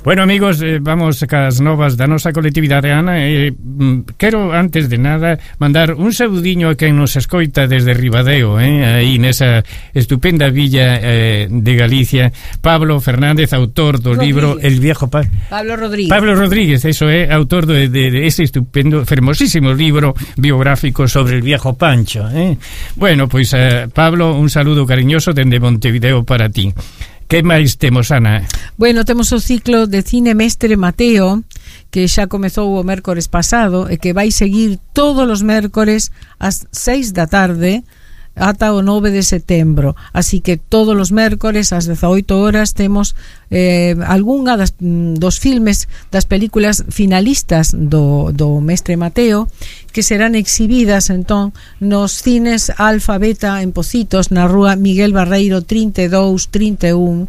Bueno, amigos, vamos cas novas da nosa colectividade, Ana. Quero, antes de nada, mandar un saudiño a quen nos escoita desde Ribadeo, aí nesa estupenda villa de Galicia. Pablo Fernández, autor do libro El Viejo Pancho. Pablo Rodríguez, eso é, autor de ese estupendo, fermosísimo libro biográfico sobre el Viejo Pancho. Bueno, pois, Pablo, un saludo cariñoso dende Montevideo para ti. Que máis temos, Ana? Bueno, temos o ciclo de Cine Mestre Mateo, que xa comezou o mércores pasado e que vai seguir todos os mércores ás 6 da tarde ata o 9 de setembro. Así que todos os mércores ás 18 horas temos algunha dos filmes, das películas finalistas do Mestre Mateo, que serán exhibidas entón nos cines Alfa Beta en Pocitos, na rúa Miguel Barreiro 32-31,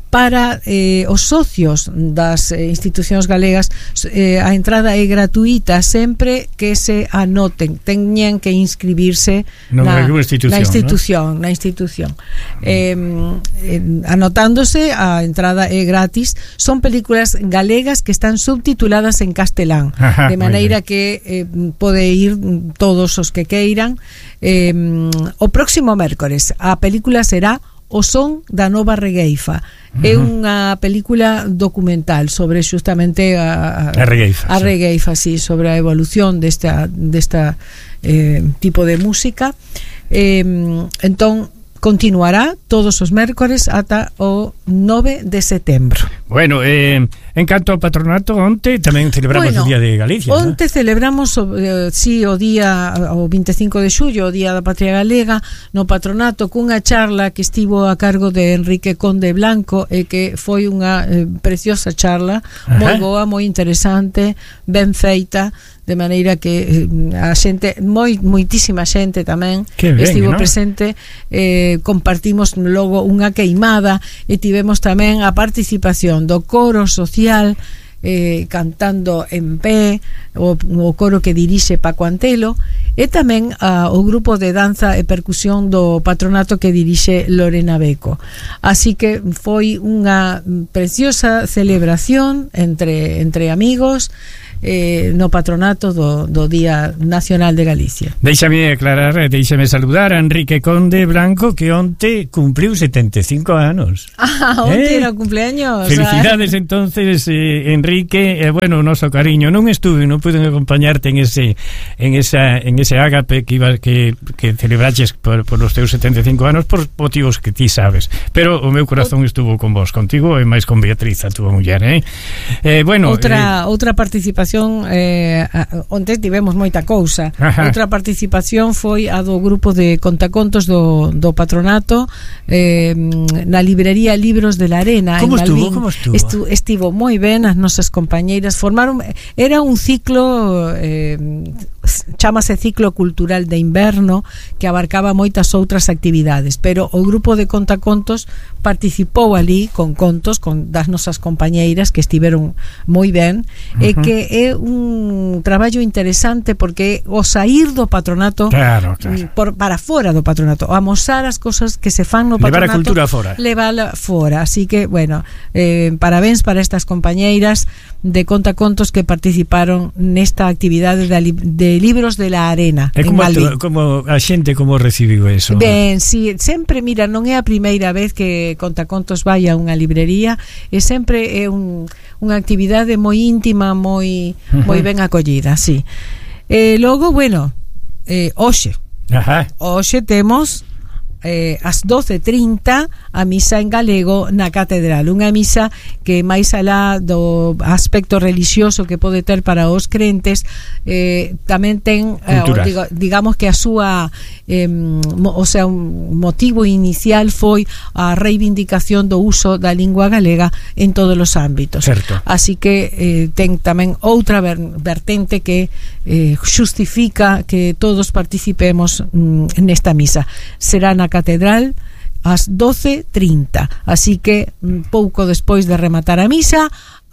para os socios das institucións galegas. A entrada é gratuita sempre que se anoten, teñen que inscribirse na institución. Anotándose, a entrada é gratis. Son películas galegas que están subtituladas en castelán, de maneira que pode ir todos os que queiran. O próximo mércores a película será O son da nova regueifa. É unha película documental sobre xustamente a regueifa, sí, sobre a evolución desta tipo de música. Entón continuará todos os mércores ata o 9 de setembro. Bueno, en canto ao patronato, onte tamén celebramos o Día de Galicia. Onte celebramos o día, o 25 de xullo, o Día da Patria Galega, no patronato, cunha charla que estivo a cargo de Enrique Conde Blanco, e que foi unha preciosa charla, moi boa, moi interesante, ben feita, de maneira que a xente, moitísima xente tamén estivo presente. Compartimos logo unha queimada e tivemos tamén a participación do coro social cantando en pé, o coro que dirixe Paco Antelo, e tamén o grupo de danza e percusión do patronato que dirixe Lorena Beco. Así que foi unha preciosa celebración entre amigos no patronato do Día Nacional de Galicia. Déixame saludar a Enrique Conde Blanco, que onte cumpliu 75 anos. Onte era o cumpleaños. Felicidades entonces, Enrique. Bueno, o noso cariño. Non pude acompañarte en ese ágape que celebraches por os teus 75 anos por motivos que ti sabes. Pero o meu corazón estuvo con vos, contigo e máis con Beatriz, a túa muller. Bueno, outra participación. Onte tivemos moita cousa. Outra participación foi a do grupo de contacontos do patronato na librería Libros de la Arena. Como estuvo? Estivo moi ben, as nosas compañeiras formaron, era un ciclo, chámase Ciclo Cultural de Inverno, que abarcaba moitas outras actividades, pero o grupo de contacontos participou ali con contos das nosas compañeiras, que estiveron moi ben, e que é un traballo interesante, porque o sair do patronato, para fora do patronato, amosar as cosas que se fan no patronato, levar a cultura fora. Levala fora. Así que, bueno, parabéns para estas compañeiras de contacontos que participaron nesta actividade de Libros de la Arena. E como a xente como recibiu eso? Ben, si, sempre, mira, non é a primeira vez que contacontos vai a unha librería, e sempre é unha actividade moi íntima, moi ben acollida, sí. Logo, bueno, hoxe temos ás 12:30 a misa en galego na catedral, unha misa que máis alá do aspecto religioso que pode ter para os crentes, tamén ten digamos que a súa un motivo inicial foi a reivindicación do uso da lingua galega en todos os ámbitos. Certo. Así que ten tamén outra vertente que xustifica que todos participemos nesta misa. Será na catedral ás 12:30, así que pouco despois de rematar a misa,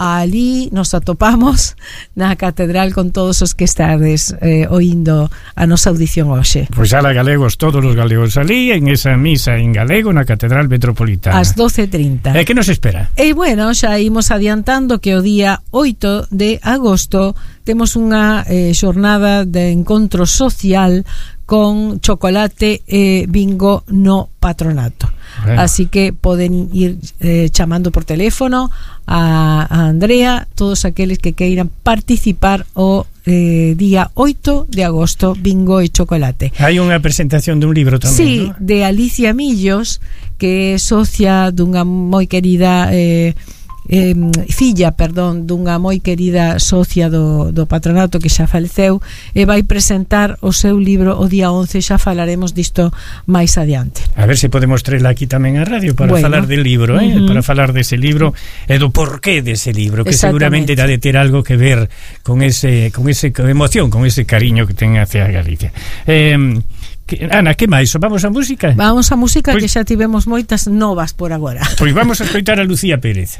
ali nos atopamos na catedral con todos os que estades oindo a nosa audición hoxe. Pois ala galegos, todos os galegos ali en esa misa en galego na Catedral Metropolitana ás 12:30. E que nos espera? E bueno, xa imos adiantando que o día 8 de agosto temos unha xornada de encontro social con chocolate e bingo no patronato. Bueno. Así que poden ir chamando por teléfono a Andrea, todos aqueles que queiran participar o día 8 de agosto, bingo e chocolate. Hai unha presentación dun libro tamén, sí, ¿no? De Alicia Millos, que é socia dunha moi querida filla, dunha moi querida socia do patronato que xa faleceu, e vai presentar o seu libro o día 11, xa falaremos disto máis adiante. A ver se podemos traerla aquí tamén a radio para falar del libro, para falar dese libro e do porqué dese libro, que seguramente dá de ter algo que ver con ese emoción, con ese cariño que ten hacia Galicia. Ana, que máis? Vamos a música? Vamos a música, pois, que xa tivemos moitas novas por agora. Pois vamos a escoitar a Lucía Pérez.